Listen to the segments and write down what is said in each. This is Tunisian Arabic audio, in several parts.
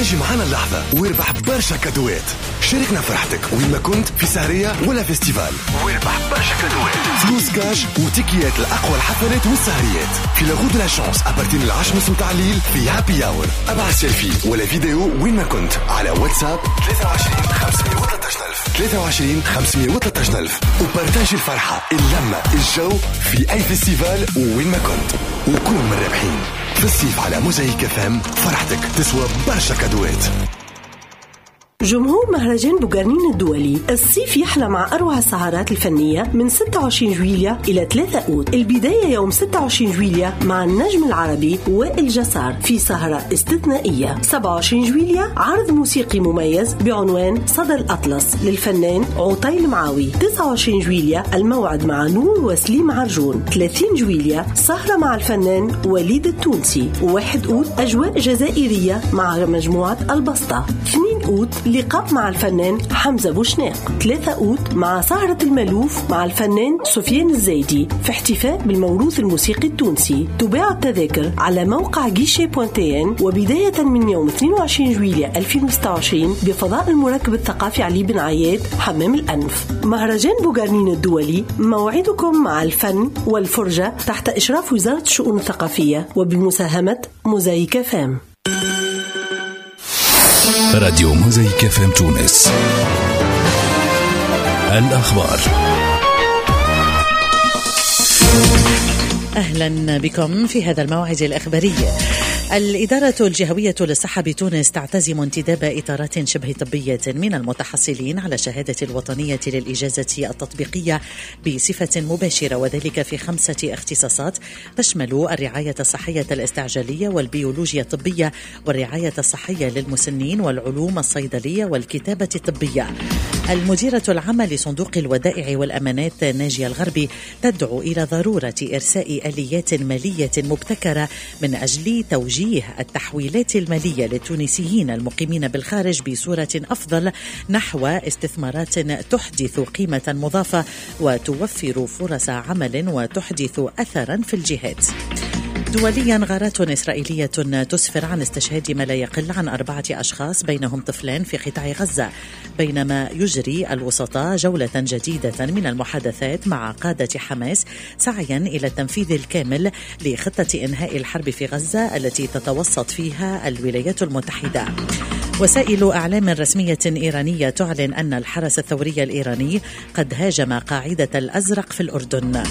اجي معنا اللحظة واربح برشا cadeau ات. شاركنا فرحتك وين ما كنت، في سهرية ولا festival، واربح برشا cadeau ات، فلوس كاش وتيكيات لأقوى الحفلات والسهريات في la roue de la chance à partir من 10:30 متاع الليل في happy hour. ابعث سيلفي ولا فيديو وين ما كنت على واتساب 23 513 ألف، 23 513 ألف، و partage الفرحة، اللمة، الجو في أي festival وين ما كنت، وكون من الرابحين في الصيف على موزايك FM. فرحتك تسوى برشا cadeau ات. جمهور مهرجان بوغارنين الدولي، الصيف يحلى مع أروع السهرات الفنية من 26 جويليا إلى 3 أوت. البداية يوم 26 جويليا مع النجم العربي وائل جسار في سهرة استثنائية. 27 جويليا عرض موسيقي مميز بعنوان صدى الأطلس للفنان عطيل معاوي. 29 جويليا الموعد مع نور وسليم عرجون. 30 جويليا سهرة مع الفنان وليد التونسي. 1 أوت أجواء جزائرية مع مجموعة البسطة. 2 أوت لقاء مع الفنان حمزة بوشناق. 3 أوت مع سهرة المالوف مع الفنان سفيان الزايدي في احتفاء بالموروث الموسيقي التونسي. تباع التذاكر على موقع guichet.tn، وبداية من يوم 22 جويلية 2026 بفضاء المركب الثقافي علي بن عياد، حمام الأنف. مهرجان بوغارنين الدولي، موعدكم مع الفن والفرجة تحت إشراف وزارة الشؤون الثقافية وبمساهمة موزايك FM. راديو موزايك FM تونس. الأخبار. أهلا بكم في هذا الموعد الإخباري. الإدارة الجهوية للصحة بتونس تعتزم انتداب إطارات شبه طبية من المتحصلين على شهادة الوطنية للإجازة التطبيقية بصفة مباشرة، وذلك في 5 اختصاصات تشمل الرعاية الصحية الاستعجالية والبيولوجيا الطبية والرعاية الصحية للمسنين والعلوم الصيدلية والكتابة الطبية. المديرة العامة لصندوق الودائع والأمانات ناجية الغربي تدعو إلى ضرورة إرساء آليات مالية مبتكرة من أجل توجيه التحويلات المالية للتونسيين المقيمين بالخارج بصورة أفضل نحو استثمارات تحدث قيمة مضافة وتوفر فرص عمل وتحدث أثرا في الجهات. دوليا، غارات إسرائيلية تسفر عن استشهاد ما لا يقل عن 4 أشخاص بينهم طفلان في قطاع غزة، بينما يجري الوسطاء جولة جديدة من المحادثات مع قادة حماس سعيا إلى التنفيذ الكامل لخطة إنهاء الحرب في غزة التي تتوسط فيها الولايات المتحدة. وسائل إعلام رسمية إيرانية تعلن أن الحرس الثوري الإيراني قد هاجم قاعدة الأزرق في الأردن.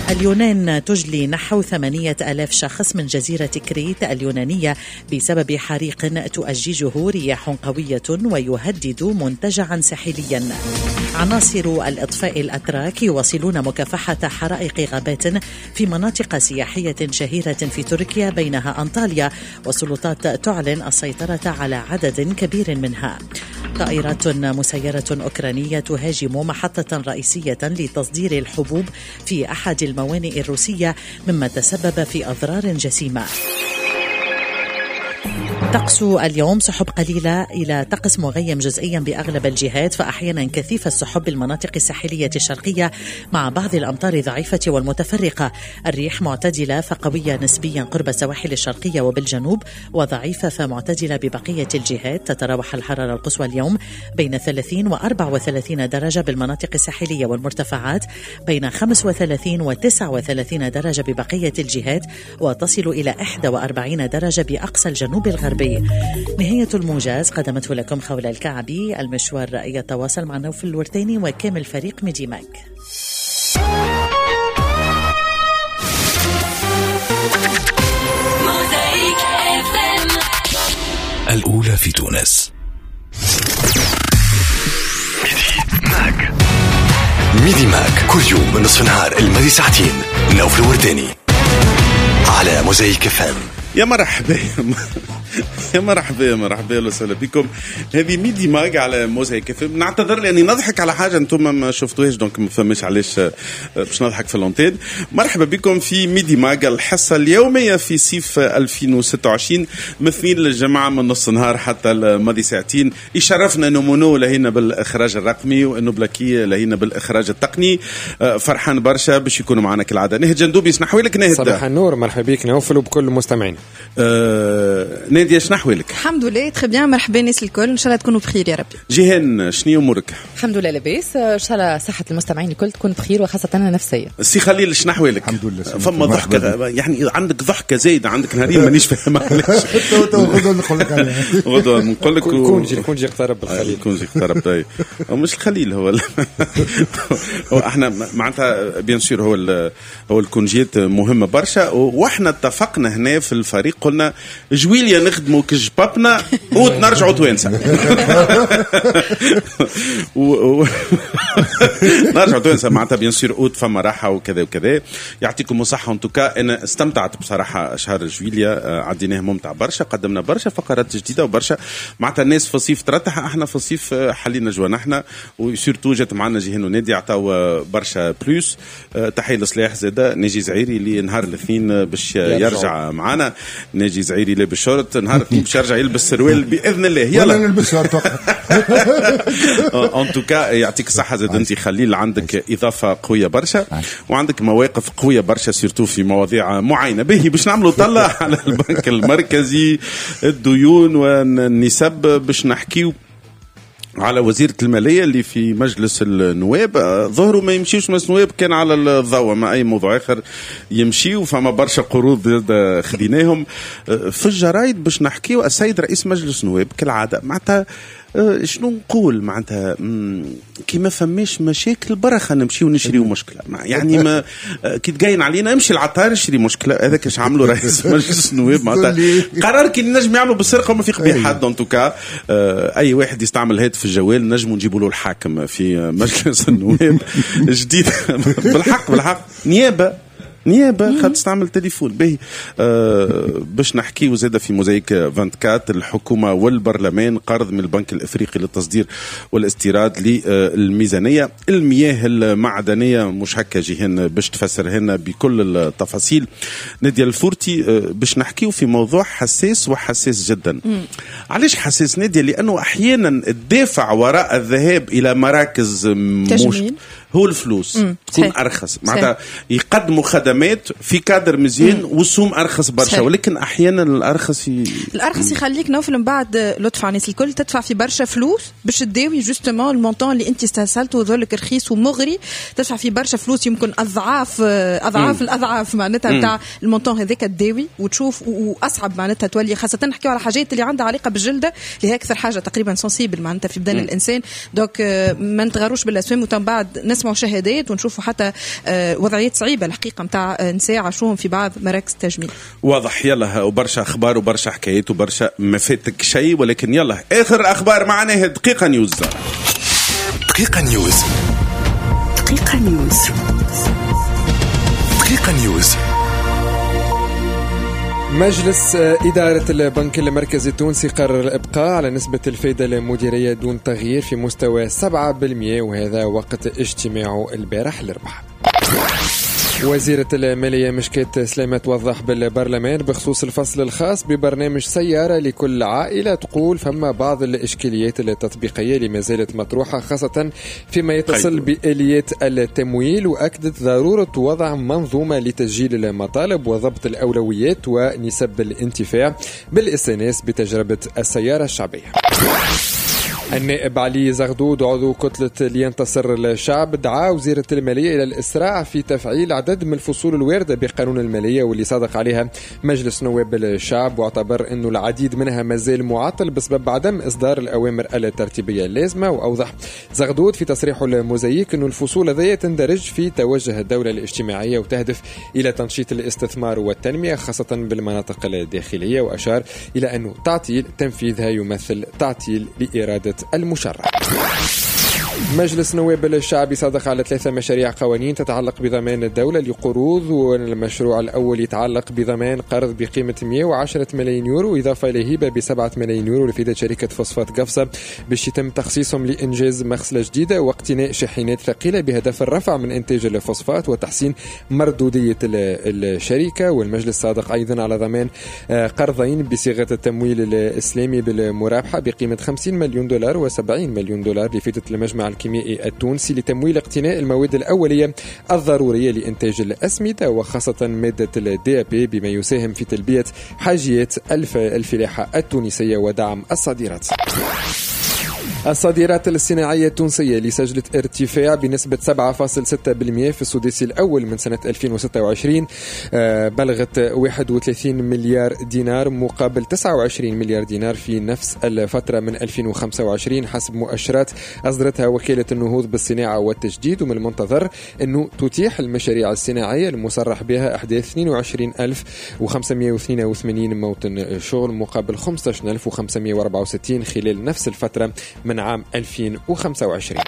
اليونان تجلي نحو 8000 شخص من جزيرة كريت اليونانية بسبب حريق تؤججه رياح قوية ويهدد منتجعا ساحليا. عناصر الإطفاء الأتراك يواصلون مكافحة حرائق غابات في مناطق سياحية شهيرة في تركيا بينها أنطاليا، والسلطات تعلن السيطرة على عدد كبير منها. طائرات مسيرة أوكرانية تهاجم محطة رئيسية لتصدير الحبوب في أحد الموانئ الروسية مما تسبب في أضرار جسيمة. طقس اليوم سحب قليلة إلى طقس مغيم جزئيا بأغلب الجهات، فأحيانا كثيف السحب بالمناطق الساحلية الشرقية مع بعض الأمطار الضعيفة والمتفرقة. الريح معتدلة فقوية نسبيا قرب السواحل الشرقية وبالجنوب، وضعيفة فمعتدلة ببقية الجهات. تتراوح الحرارة القصوى اليوم بين 30 و 34 درجة بالمناطق الساحلية والمرتفعات، بين 35 و 39 درجة ببقية الجهات، وتصل إلى 41 درجة بأقصى الجنوب الغربي. نهاية الموجز قدمته لكم خولة الكعبي. المشوار يتواصل مع نوفل الورتاني وكامل فريق ميدي ماك. الأولى في تونس. ميدي ماك، ميدي ماك كل يوم من نصف نهار الماضي ساعتين. نوفل الورتاني على موزايك FM. يا مرحبا يا مرحبا يا مرحبا، اهلا وسهلا بكم. هذه ميدي ماج على موزايك FM. نعتذر لاني نضحك على حاجة انتم ما شفتوهاش، donc ما فماش علاش باش نضحك في l'antenne. مرحبا بكم في ميدي ماج، الحصة اليومية في صيف 2026 من اثنين للجمعة من نص نهار حتى الماضي ساعتين. يشرفنا انه مونو لهينا بالاخراج الرقمي وانه بلاكي لهينا بالاخراج التقني. فرحان برشا باش يكونوا معنا كالعادة. نهد جندوبي، اسمحوا لك نهد. صباح النور، مرحبا بك نوفل وبكل المستمعين. نادية شنو أحوالك؟ الحمد لله très bien، مرحبا الناس الكل، إن شاء الله تكونوا بخير يا ربي. جيهان شنو أمورك؟ الحمد لله لاباس، إن شاء الله صحة المستمعين الكل تكون بخير وخاصة النفسية. سي خليل شنو أحوالك؟ الحمد لله. فما ضحكة، يعني عندك ضحكة زايدة عندك نهارين مانيش فاهم علاش. غدوة نقول لك عليها. غدوة نقول لك ال congé اقترب الخليل. ال congé اقترب. طيب مش الخليل هو احنا معناتها bien sûr هو ال congé مهمة برشا، واحنا اتفقنا هنا في الفريق قلنا جويليا نخدموا كجبابنا ونرجعوا توانسة. نرجعوا توانسة معناتها bien sûr اوت فما راحة وكذا وكذا. يعطيكم الصحة en tout cas، انا استمتعت بصراحة شهر جويليا، عديناه ممتع برشا، قدمنا برشا فقرات جديدة وبرشا معناتها الناس في الصيف ترتاح، احنا في الصيف حلينا جوانحنا، و surtout جات معنا جيهان ونادي عطاو برشا plus. تحية لصلاح زاده ناجي زعيري اللي نهار الاثنين باش يرجع معنا. ناجي زعيري لابس شورت نهار الاثنين باش يرجع يلبس سروال باذن الله. يلا نلبس شورت. en tout cas يعطيك الصحة زاد انت خليل، عندك اضافه قوية برشا وعندك مواقف قوية برشا surtout في مواضيع معينة. به باش نعملوا طلع على البنك المركزي، الديون والنسب، باش نحكيو على وزيرة المالية اللي في مجلس النواب. ظهروا ما يمشيوش مجلس النواب كان على الضوء، ما أي موضوع آخر يمشيو، فما برشا قروض خديناهم في الجرايد. باش نحكيو السيد رئيس مجلس النواب كالعادة معناتها شنو نقول معناتها كي ما فماش مشاكل برا خلينا نمشيو نشريو مشكلة، يعني ما كي تقاين علينا امشي العطار اشري مشكلة. هذاك اش عملوا رئيس مجلس النواب معناتها قرار كي نجم يعملوا بالسرقة وما في قبيح حد. en tout cas اي واحد يستعمل هاتف الجوال نجموا نجيبوا له الحاكم في مجلس النواب جديد. بالحق بالحق نيابة خاطر تستعمل تليفون به. باش نحكيو زاده في موزايك 24 الحكومة والبرلمان قرض من البنك الافريقي للتصدير والاستيراد للميزانيه، المياه المعدنية مش هكا جيهان باش تفسر هنا بكل التفاصيل. نادية الفورتي باش نحكيو في موضوع حساس وحساس جدا. علاش حساس نادية؟ لانه احيانا الدافع وراء الذهاب الى مراكز تجميل هو الفلوس تكون ارخص، معناتها يقدموا خدمات في كادر مزيان والسوم ارخص برشا، ولكن احيانا الارخص الارخص يخليك نوفل من بعد لطف على الناس الكل تدفع في برشا فلوس باش تداوي justement ال montant اللي انت استهسلته وذلك رخيص ومغري، تدفع في برشا فلوس يمكن اضعاف اضعاف الاضعاف معناتها نتاع ال montant هذاك تداوي وتشوف، واصعب معناتها تولي، خاصة نحكيو على حاجات اللي عندها علاقة بالجلده اللي هي اكثر حاجة تقريبا sensible معناتها في بدن الانسان. donc ما نتغروش بالاسوام، ومن بعد نسمعوا شهادات ونشوفوا حتى وضعيات صعيبة الحقيقة نتاع نساء عاشوهم في بعض مراكز التجميل. واضح. يلا وبرشا اخبار وبرشا حكايات وبرشا ما فاتك شيء، ولكن يلا اخر اخبار معنا دقيقة نيوز. دقيقة نيوز، دقيقة نيوز، دقيقة نيوز. مجلس إدارة البنك المركزي التونسي قرر الإبقاء على نسبة الفائدة المديرية دون تغيير في مستوى 7%، وهذا وقت اجتماعه البارح الأربعاء. وزيرة المالية مشكات سلامة توضح بالبرلمان بخصوص الفصل الخاص ببرنامج سيارة لكل عائلة، تقول فما بعض الإشكاليات التطبيقية اللي ما زالت مطروحة خاصة فيما يتصل بآليات التمويل، وأكدت ضرورة وضع منظومة لتسجيل المطالب وضبط الأولويات ونسب الانتفاع بالاستئناس بتجربة السيارة الشعبية. النائب علي زغدود عضو كتلة لينتصر الشعب دعا وزيرة المالية إلى الإسراع في تفعيل عدد من الفصول الواردة بقانون المالية واللي صادق عليها مجلس نواب الشعب، واعتبر أنه العديد منها مازال معطل بسبب عدم إصدار الأوامر الترتيبية اللازمة. وأوضح زغدود في تصريحه الموزايك أن الفصول هذه تندرج في توجه الدولة الاجتماعية وتهدف إلى تنشيط الاستثمار والتنمية خاصة بالمناطق الداخلية، وأشار إلى أنه تعطيل تنفيذها يمثل تعطيل لإرادة المشرع. مجلس نواب الشعب صادق على 3 مشاريع قوانين تتعلق بضمان الدولة لقروض، والمشروع الأول يتعلق بضمان قرض بقيمة 110 ملايين يورو إضافة إلى هبة ب7 ملايين يورو لفائدة شركة فوسفات قفصة باش يتم تخصيصهم لإنجاز مغسلة جديدة واقتناء شاحنات ثقيلة بهدف الرفع من إنتاج الفوسفات وتحسين مردودية الشركة. والمجلس صادق أيضا على ضمان قرضين بصيغة التمويل الإسلامي بالمرابحة بقيمة 50 مليون دولار و70 مليون دولار لفائدة المجمع المجمع الكيميائي التونسي لتمويل اقتناء المواد الأولية الضرورية لإنتاج الأسمدة وخاصة مادة ال DAP، بما يساهم في تلبية حاجيات الفلاحة التونسية ودعم الصادرات. الصادرات الصناعية التونسية اللي سجلت ارتفاع بنسبة 7.6% في السداسي الأول من سنة 2026 بلغت 31 مليار دينار مقابل 29 مليار دينار في نفس الفترة من 2025 حسب مؤشرات أصدرتها وكالة النهوض بالصناعة والتجديد. ومن المنتظر أنه تتيح المشاريع الصناعية المصرح بها إحداث 22582 موطن شغل مقابل 15564 خلال نفس الفترة من عام 2025.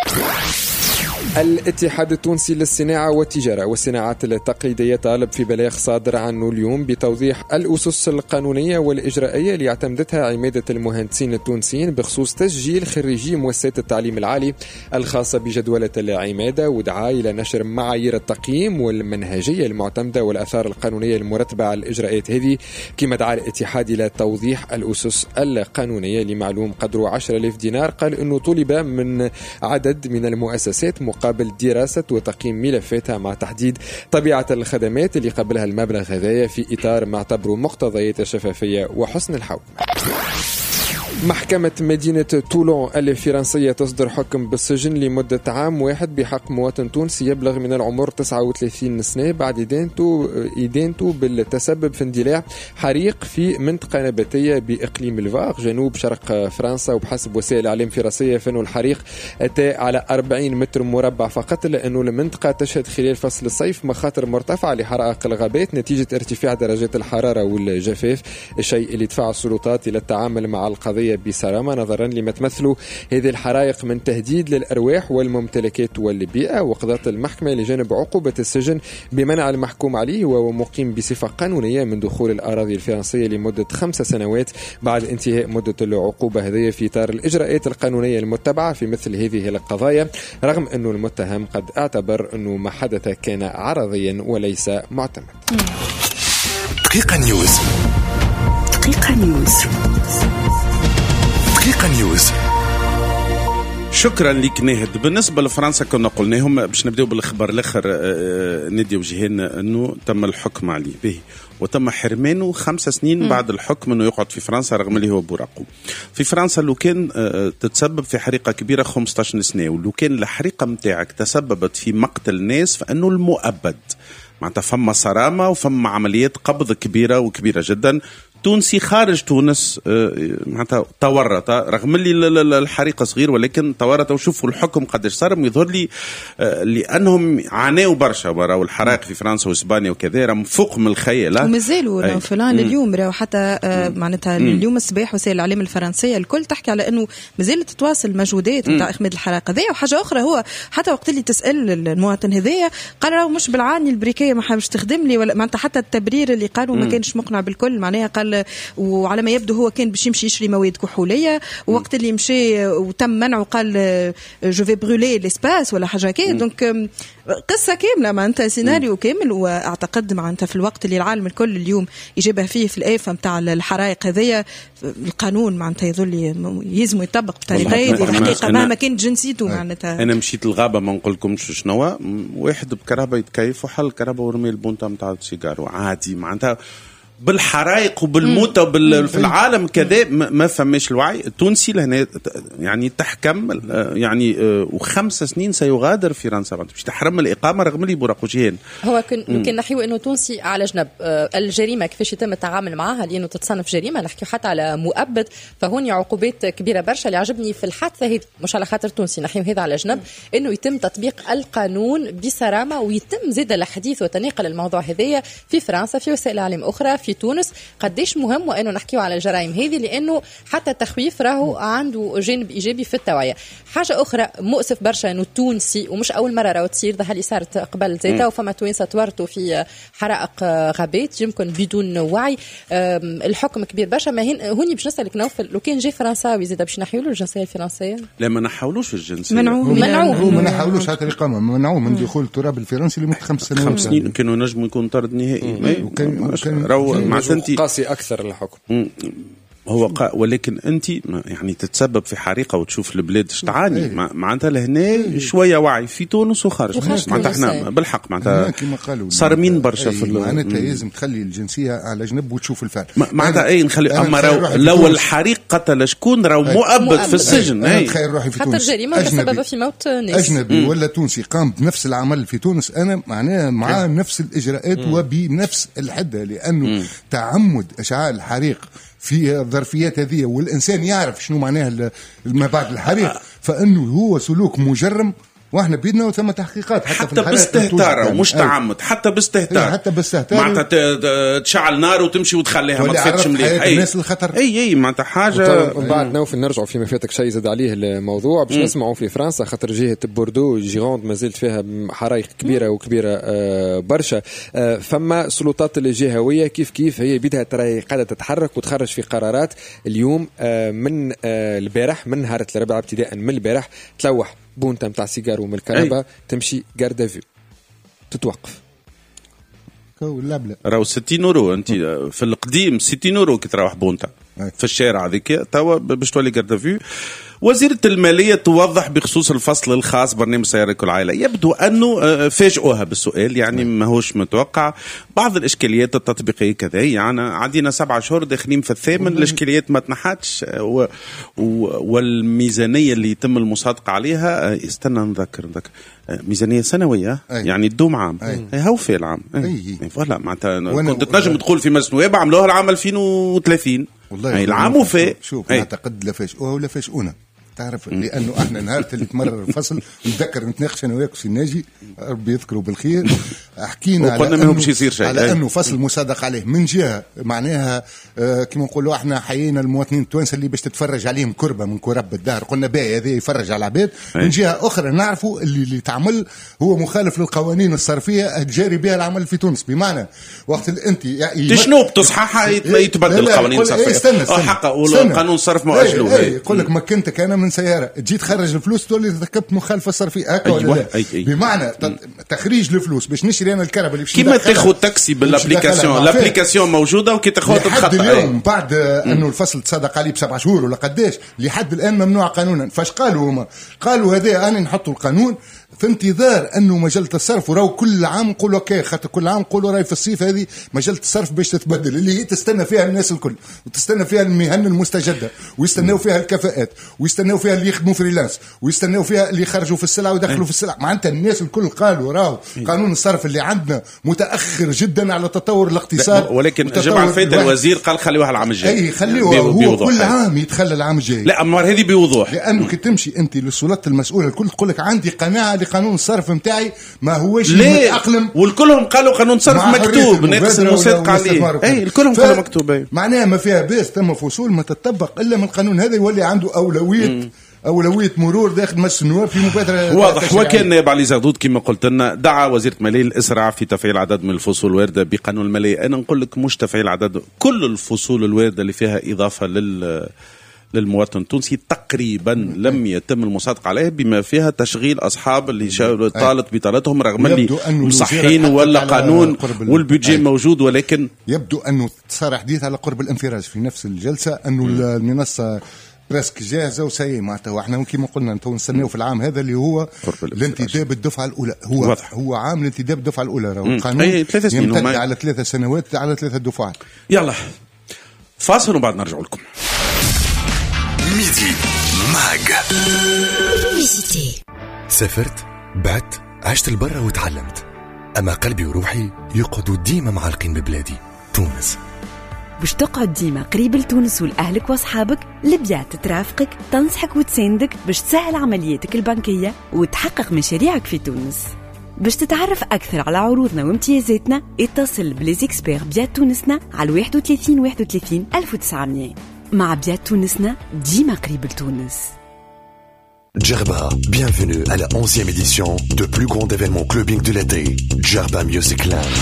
الاتحاد التونسي للصناعة والتجارة والصناعات التقليدية طالب في بلاغ صادر عنه اليوم بتوضيح الأسس القانونية والإجرائية اللي اعتمدتها عمادة المهندسين التونسيين بخصوص تسجيل خريجي مؤسسات التعليم العالي الخاصة بجدولة العمادة، ودعا إلى نشر معايير التقييم والمنهجية المعتمدة والآثار القانونية المرتبة على الإجراءات هذه. كما دعا الاتحاد إلى توضيح الأسس القانونية لمعلوم قدره 10,000 دينار، قال أنه طلب من عدد من المؤسسات مقابل دراسة وتقييم ملفاتها مع تحديد طبيعة الخدمات اللي قبلها المبلغ هذايا في إطار ما اعتبره مقتضيات الشفافية وحسن الحكم. محكمة مدينة تولون الفرنسية تصدر حكم بالسجن لمدة عام واحد بحق مواطن تونسي يبلغ من العمر 39 سنة بعد إدانته بالتسبب في اندلاع حريق في منطقة نباتية بإقليم الفار جنوب شرق فرنسا. وبحسب وسائل الإعلام الفرنسية فإنه الحريق أتى على 40 متر مربع فقط، لأنه المنطقة تشهد خلال فصل الصيف مخاطر مرتفعة لحرائق الغابات نتيجة ارتفاع درجات الحرارة والجفاف، الشيء اللي دفع السلطات إلى التعامل مع القضية بصرامة نظرا لما تمثله هذه الحرائق من تهديد للأرواح والممتلكات والبيئة. وقضت المحكمة لجانب عقوبة السجن بمنع المحكوم عليه وهو مقيم بصفة قانونية من دخول الأراضي الفرنسية لمدة 5 سنوات بعد انتهاء مدة العقوبة هذه في إطار الإجراءات القانونية المتبعة في مثل هذه القضايا، رغم أنه المتهم قد اعتبر أنه ما حدث كان عرضيا وليس معتمد. دقيقة نيوز، دقيقة نيوز، دقيقة نيوز. شكرا لك ناهد. بالنسبة لفرنسا كنا قلناهم باش نبداو بالخبر الآخر، نادي وجهان أنه تم الحكم عليه به وتم حرمانه 5 سنين بعد الحكم أنه يقعد في فرنسا رغم اللي هو بوراقو. في فرنسا لو كان تتسبب في حريقة كبيرة 15 سنة، ولو كان الحريقة متاعك تسببت في مقتل ناس فأنه المؤبد، معناتها فما صرامة وفما عمليات قبض كبيرة وكبيرة جدا. تونسي خارج تونس معناتها تورط رغم اللي الحريقه صغير ولكن تورط، وشوفوا الحكم قداش صار. يظهر لي لانهم عانوا برشا وراو الحرائق في فرنسا واسبانيا وكذا، راهم فوق من الخيال ومازالوا فلان اليوم راهو حتى معناتها اليوم الصباح وسائل الاعلام الفرنسية الكل تحكي على انه مازالت تتواصل مجهودات نتاع اخماد الحرائق هذايا. وحاجه اخرى هو حتى وقت اللي تسال المواطن هذايا قال راهو مش بالعاني البريكيه ما حابش تخدم لي ولا معناتها حتى التبرير اللي قالوا ما كانش مقنع بالكل. معناها قال وعلى ما يبدو هو كان باش يمشي يشري مواد كحوليه، ووقت اللي مشي وتم منعه قال je vais brûler l'espace ولا حاجة هكا. donc قصة كاملة معناتها سيناريو كامل. واعتقد معناتها في الوقت اللي العالم الكل اليوم يجابه فيه في الآفة نتاع الحرائق هذيا، القانون معناتها يظل يلزم يطبق بطريقة هذه الحقيقة مهما كانت جنسيته. معناتها انا مشيت الغابة ما نقولكمش شنو، واحد بكرهبه يتكيف وحل الكرهبه ورمي البونتا نتاع السيجار عادي، معناتها بالحرائق وبالموتى في العالم كذا ما فماش الوعي التونسي لهنا يعني تحكم يعني و5 سنين سيغادر فرنسا باش تحرم الإقامة رغم اللي بوراقوجيان. هو كان نحيو أنه تونسي على جنب الجريمة كيفاش يتم التعامل معها لأنه تتصنف جريمة، نحكي حتى على مؤبد، فهون عقوبات كبيرة برشا. اللي عجبني في الحادثة هذه مش على خاطر تونسي نحيو هذا على جنب، أنه يتم تطبيق القانون بصرامة ويتم زاد الحديث وتناقل الموضوع هذايا في فرنسا في وسائل إعلام أخرى في تونس. قديش مهم وانه نحكيو على الجرائم هذه، لانه حتى التخويف راهو عنده جانب ايجابي في التوعية. حاجة اخرى مؤسف برشا انه التونسي، ومش اول مرة راهو تصير، ظهر لي صارت قبل زيتا، وفما توانسة تورطوا في حرائق غابات يمكن بدون وعي. الحكم كبير برشا. ما هوني باش نسالك نوفل، لو كان جا فرنساوي زيدا باش نحيولوا الجنسية الفرنسية؟ لا، ما نحاولوش الجنسية، منعوه، ما نحاولوش حتى الاقامة، منعوه من دخول التراب الفرنسي لمدة 5 سنوات. 5 سنين كانوا نجموا يكون طرد نهائي. مع قاسي أكثر الحكم. هو ولكن انت يعني تتسبب في حريقة وتشوف البلاد اش تعاني، معناتها لهنا شوية وعي في تونس وخارج، معناتها احنا بالحق معناتها صارمين برشا في معناتها لازم تخلي الجنسية على جنب وتشوف الفعل معناتها اي نخلي. اما لو الحريق قتل شكون راهو مؤبد في السجن. انا تخيل روحي في تونس حتى الجريمة تسبب في موت ناس اجنبي ولا تونسي قام بنفس العمل في تونس، انا معناها مع نفس الاجراءات وبنفس الحدة، لانه تعمد اشعال الحريق في الظرفيات هذه والإنسان يعرف شنو معناه ما بعد الحريق، فإنه هو سلوك مجرم واحنا بيدنا وثم تحقيقات حتى باستهتار ومش تعمد، حتى باستهتار، حتى باستهتار معناتها تشعل نار وتمشي وتخليها ما تفتش مليح الناس الخطر. اي معناتها حاجة. من بعد نوفل نرجعوا فيما فاتك شيء زاد عليه الموضوع باش نسمعوا في فرنسا، خاطر جهة بوردو جيروند ما زالت فيها حرائق كبيرة وكبيره برشا. فما سلطات الجهوية كيف كيف هي بدها ترى قاعدة تتحرك وتخرج في قرارات اليوم من البارح، من نهار الاربعاء ابتداء من البارح تلوح بونتا متاع سيجار ومن الكهرباء تمشي garde à vue تتوقف. راهو 60 اورو انت في القديم 60 اورو كي تروح بونتا في الشارع هذيك، توا باش تولي garde à vue. وزيرة المالية توضح بخصوص الفصل الخاص برنامج سيارة كل عائلة، يبدو أنه فاجئوها بالسؤال، يعني ماهوش متوقع. بعض الإشكاليات التطبيقية كذا، يعني عندنا 7 شهور داخلين في الثامن، الإشكاليات ما تنحتش، والميزانية اللي يتم المصادقة عليها، استنى نذكر ميزانية سنوية. يعني تدوم عام. هو في العام voilà معناتها كنت تنجم تقول في مجلس النواب عملوها العام 2030 والله العام وفاء. شوف اعتقد لا فاجئوها ولا فاجئونا، تعرف لانه احنا نهار اللي تمرر الفصل نتذكر نتناقش انا وياك سي ناجي ربي يذكره بالخير، حكينا على انه باش يصير شيء، على انه فصل مصادق عليه من جهة معناها كما نقولوا احنا حيينا المواطنين التوانسة اللي باش تتفرج عليهم كربه من كرب الدهر، قلنا باهي هذا يفرج على العباد. من جهة اخرى نعرفوا اللي تعمل هو مخالف للقوانين الصرفيه الجاري بها العمل في تونس، بمعنى وقت اللي انت يعني شنو بتصححها يتبدل القوانين الصرفيه حقا والقانون الصرف ما اجلوه. يقول لك مكنتك انا من سيارة تجي تخرج الفلوس تولي ركبت مخالفة صرفيه هكا ولا لا؟ بمعنى تخريج الفلوس باش نشري انا الكهرباء اللي باش كيما تاخذ تاكسي بال application، ال application موجودة وكي تاخذ تتخطى. اليوم بعد انه الفصل تصادق عليه ب7 شهور ولا قداش لحد الان ممنوع قانونا. فاش قالوا هما؟ قالوا هذا انا نحطوا القانون في انتظار انه مجلة الصرف، وراو كل عام نقولوا OK، خاطر كل عام نقولوا راي في الصيف هذه مجلة الصرف باش تتبدل، اللي هي تستنى فيها الناس الكل وتستنى فيها المهن المستجدة ويستناو فيها الكفاءات ويستناو فيها اللي يخدموا freelance ويستناو فيها اللي يخرجوا في السلعة ويدخلوا في السلعة. معناتها الناس الكل قالوا راهو قانون الصرف اللي عندنا متاخر جدا على تطور الاقتصاد. ولكن جمع فايت الوزير قال خليوها العام الجاي. اي خليوها، هو كل عام يتخلى العام الجاي. لا اما هذه بوضوح، لانه كي تمشي انت للسلطات المسؤولة الكل تقول لك عندي قناعة قانون الصرف نتاعي ما هوش متأقلم، والكلهم قالوا قانون صرف مكتوب ناقص المصادقة عليه. اي الكلهم قالوا مكتوب، معناها ما فيها باس ثم فصول ما تطبق الا من القانون هذا يولي عنده اولوية مرور داخل مجلس النواب في مبادرة. واضح. وكان نائب علي زغدود كما قلت لنا دعا وزيره المالية الاسراع في تفعيل عدد من الفصول الواردة بقانون المالية. انا نقول لك مش تفعيل عدد، كل الفصول الواردة اللي فيها اضافه للمواطن التونسي تقريبا لم يتم المصادقة عليه، بما فيها تشغيل أصحاب اللي طالت بطالتهم رغم اللي مصحين ولا قانون والبيدجي موجود، ولكن يبدو أنه صار حديث على قرب الانفراج في نفس الجلسة أنه المنصة presque جاهزة وساي معناتها، واحنا كما قلنا انتم نستناو في العام هذا اللي هو الانتداب الدفعة الاولى، هو واضح. هو عام الانتداب الدفعة الاولى، راهو القانون يمتد على 3 سنوات على 3 دفعات. يلا فاصل وبعد نرجع لكم. Midi Mag. سافرت، بعت، عشت البرة وتعلمت، أما قلبي وروحي يقعدوا ديما معلقين ببلادي تونس. باش تقعد ديما قريب لتونس ولأهلك وأصحابك، البيات ترافقك، تنصحك وتساندك باش تسهل عملياتك البنكية وتحقق مشاريعك في تونس. باش تتعرف أكثر على عروضنا وامتيازاتنا اتصل ب les experts بيات تونسنا على 31 31 1900. مع بيات تونسنا ديما قريب لتونس. Djerba, bienvenue à la 11e édition de plus grand événement clubbing de l'été, Djerba Music Land.